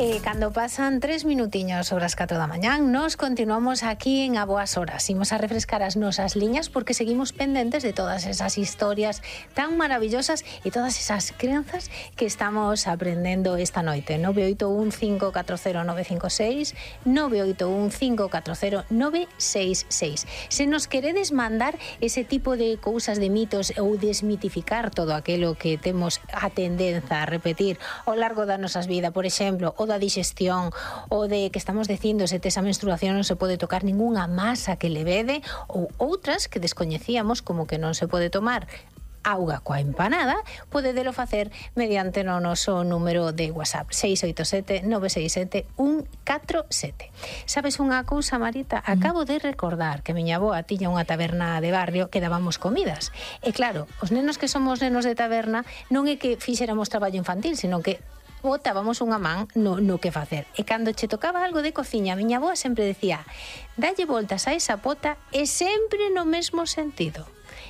Cando pasan 3 minutiños sobre as 4 da mañán, nos continuamos aquí en A Boas Horas. Imos a refrescar as nosas liñas porque seguimos pendentes de todas esas historias tan maravillosas e todas esas crenzas que estamos aprendendo esta noite. 981-540-956, 981-540-966. Se nos queredes mandar ese tipo de cousas, de mitos ou desmitificar todo aquilo que temos a tendenza a repetir ao largo da nosas vida, por exemplo, o da digestión, o de que estamos dicindo se tes a menstruación non se pode tocar ningunha masa que levede, ou outras que descoñecíamos como que non se pode tomar auga coa empanada, podedelo facer mediante no noso número de WhatsApp 687-967-147. Sabes unha cousa, Marita? Acabo de recordar que miña avoa tiña unha taberna de barrio que dábamos comidas. E claro, os nenos que somos nenos de taberna non é que fixéramos traballo infantil, sino que botábamos unha man no que facer. E cando che tocaba algo de cociña, miña avoa sempre decía: dalle voltas a esa pota e sempre no mesmo sentido.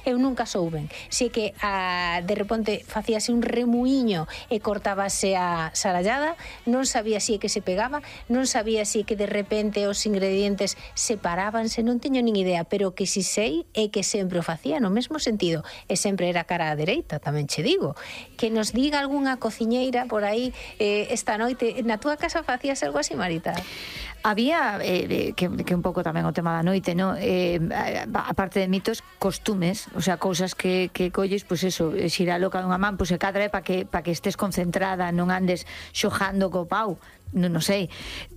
Eu nunca souben se que de repente facíase un remuiño e cortábase a sarallada, non sabía se que se pegaba, non sabía se que de repente os ingredientes separábanse, non teño nin idea, pero que si sei é que sempre o facía no mesmo sentido e sempre era cara á dereita, tamén che digo. Que nos diga algunha cociñeira por aí esta noite, na túa casa facías algo así, Marita? Había, que un pouco tamén o tema da noite, ¿no? Aparte de mitos, costumes, o sea, cousas que colles, pois eso, xira loca dunha man, pois se cadra é para que estés concentrada, non andes xojando co pau, non sei,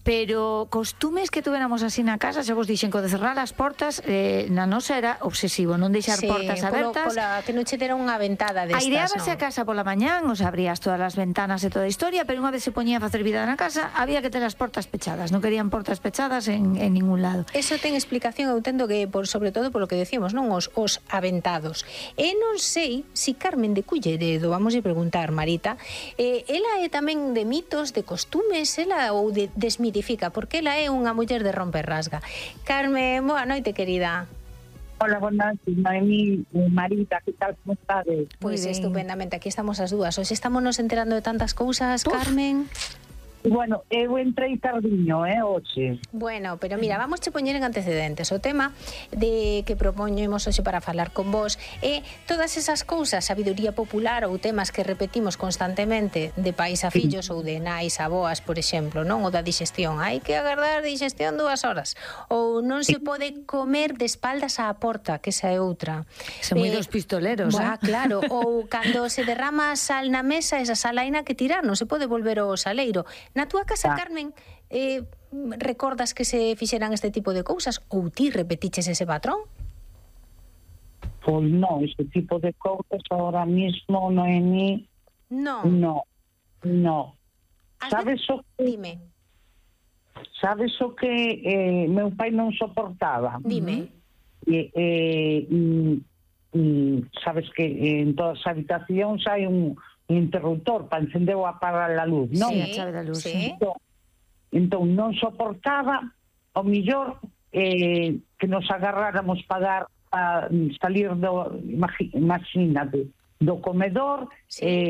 pero costumes que tuveramos así na casa, xa vos dixen que o de cerrar as portas na nosa era obsesivo, non deixar portas abertas, que non che dera unha ventada destas, aireábase a casa pola mañán, os abrías todas as ventanas e toda a historia, pero unha vez se poñía a facer vida na casa, había que ter as portas pechadas, non querían portas pechadas en ningún lado. Eso ten explicación, eu entendo que sobre todo polo que decíamos, non os aventados. E non sei se Carmen de Culleredo, vamos a preguntar, Marita, ela é tamén de mitos, de costumes, ou desmitifica, porque ela é unha muller de romper rasga. Carmen, boa noite, querida. Hola, buenas noches, Noemí, Marita, que tal, como estades? Pois estupendamente, aquí estamos as dúas. Hoxe estamos nos enterando de tantas cousas, Carmen. Bueno, eu entrei tardiño, hoxe. Bueno, pero mira, vamos a poñer en antecedentes. O tema de que propoñemos hoxe para falar con vos é todas esas cousas, sabiduría popular ou temas que repetimos constantemente de pais a fillos ou de nais a boas, por exemplo, non? O da digestión. Hai que agardar digestión 2 horas. Ou non se pode comer de espaldas á porta, que esa é outra. Son moi dos pistoleros, claro. Ou cando se derrama sal na mesa, esa sal haina que tirar, non se pode volver ao saleiro. Na túa casa, Carmen, recordas que se fixeran este tipo de cousas ou ti repetiches ese patrón? Pois non, ese tipo de cousas ahora mismo non é ni... No. Sabes o que... Dime. Sabes o que meu pai non soportaba? Dime. Sabes que en todas as habitacións hai un interruptor para encender ou apagar a luz, non? Sí, a chave da luz, sí. Entón non soportaba o millor que nos agarráramos para salir do, imagínate, do comedor,